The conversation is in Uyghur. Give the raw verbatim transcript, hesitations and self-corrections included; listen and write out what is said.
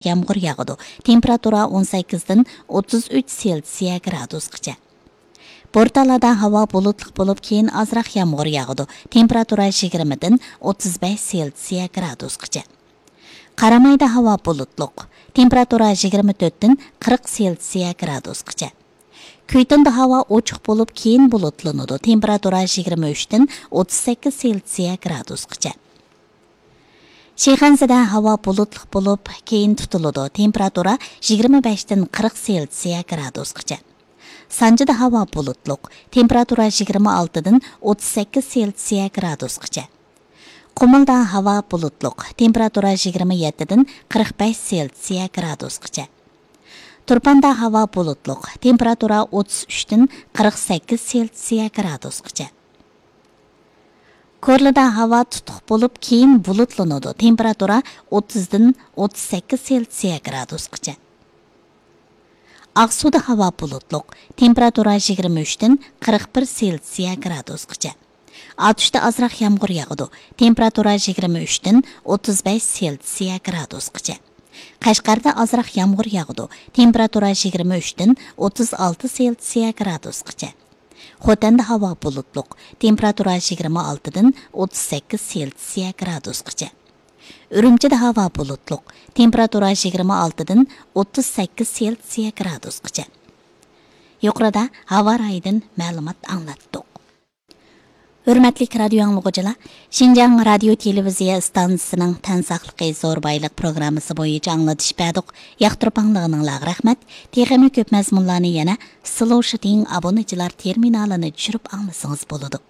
يامغۇر ياغىدۇ. تېمپېراتۇرا ئون سەككىزدىن ئوتتۇز ئۈچ سېلسىيە گرادۇسقىچە. بورتالادا ھاۋا بۇلۇتلۇق بولۇپ، كېيىن ئازراق يامغۇر ياغىدۇ. تېمپېراتۇرا يىگىرمىدىن ئوتتۇز بەش سېلسىيە گرادۇسقىچە. قارامايدا ھاۋا بۇلۇتلۇق. تېمپېراتۇرا يىگىرمە تۆتتىن قىرىق سېلسىيە گرادۇسقىچە. كۈيتۇندا ھاۋا ئوچۇق بولۇپ، كېيىن بۇلۇتلىنىدۇ. تېمپېراتۇرا يىگىرمە ئۈچتىن ئوتتۇز سەككىز سېلسىيە گرادۇسقىچە. شىخەنزىدە ھاۋا بۇلۇتلۇق بولۇپ، كېيىن تۇتۇلىدۇ. تېمپېراتۇرا يىگىرمە بەشتىن قىرىق سېلسىيە گرادۇسقىچە. سانجىدا ھاۋا بۇلۇتلۇق. تېمپېراتۇرا يىگىرمە ئالتىدىن ئوتتۇز سەككىز سېلسىيە گرادۇسقىچە. قۇمۇلدا ھاۋا بۇلۇتلۇق. تېمپېراتۇرا يىگىرمە يەتتىدىن قىرىق بەش سېلسىيە گرادۇسقىچە. تۇرپاندا ھاۋا بۇلۇتلۇق. تېمپېراتۇرا ئوتتۇز ئۈچتىن قىرىق سەككىز سېلسىيە گرادۇسقىچە. كورلىدا ھاۋا تۇتۇق بولۇپ، كېيىن بۇلۇتلىنىدۇ. تېمپېراتۇرا ئوتتۇزدىن ئوتتۇز سەككىز سېلسىيە گرادۇسقىچە. ئاقسۇدا ھاۋا بۇلۇتلۇق. تېمپېراتۇرا يىگىرمە ئۈچتىن قىرىق بىر سېلسىيە گرادۇسقىچە. ئاتۇشتا ئازراق يامغۇر ياغىدۇ. تېمپېراتۇرا يىگىرمە ئۈچتىن ئوتتۇز بەش سېلسىيە گرادۇسقىچە. قەشقەردە ئازراق يامغۇر ياغىدۇ. تېمپېراتۇرا يىگىرمە ئۈچتىن ئوتتۇز ئالتە سېلسىيە گرادۇسقىچە. خوتەندە ھاۋا بۇلۇتلۇق. تېمپېراتۇرا يىگىرمە ئالتىدىن ئوتتۇز سەككىز سېلسىيە گرادۇسقىچە. ئۈرۈمچىدە ھاۋا بۇلۇتلۇق. تېمپېراتۇرا يىگىرمە ئالتىدىن ئوتتۇز سەككىز سېلسىيە گرادۇسقىچە. يۇقىرىدا ھاۋا رايىدىن مەلۇمات ئاڭلاتتۇق. ھۆرمەتلىك رادىيو ئاڭلىغۇچىلار، شىنجاڭ رادىيو تېلېۋىزىيە ئىستانسىسىنىڭ تەن ساقلىقى زور بايلىق پروگراممىسى بويىچە ئاڭلىتىش بەردۇق. ياقتۇرۇپ ئاڭلىغىنىڭلارغا رەھمەت. تېخىمۇ كۆپ مەزمۇنلارنى يەنە سلو شىتىڭ ئابۇنىچىلار تېرمىنالىنى چۈشۈرۈپ ئاڭلىسىڭىز بولىدۇ.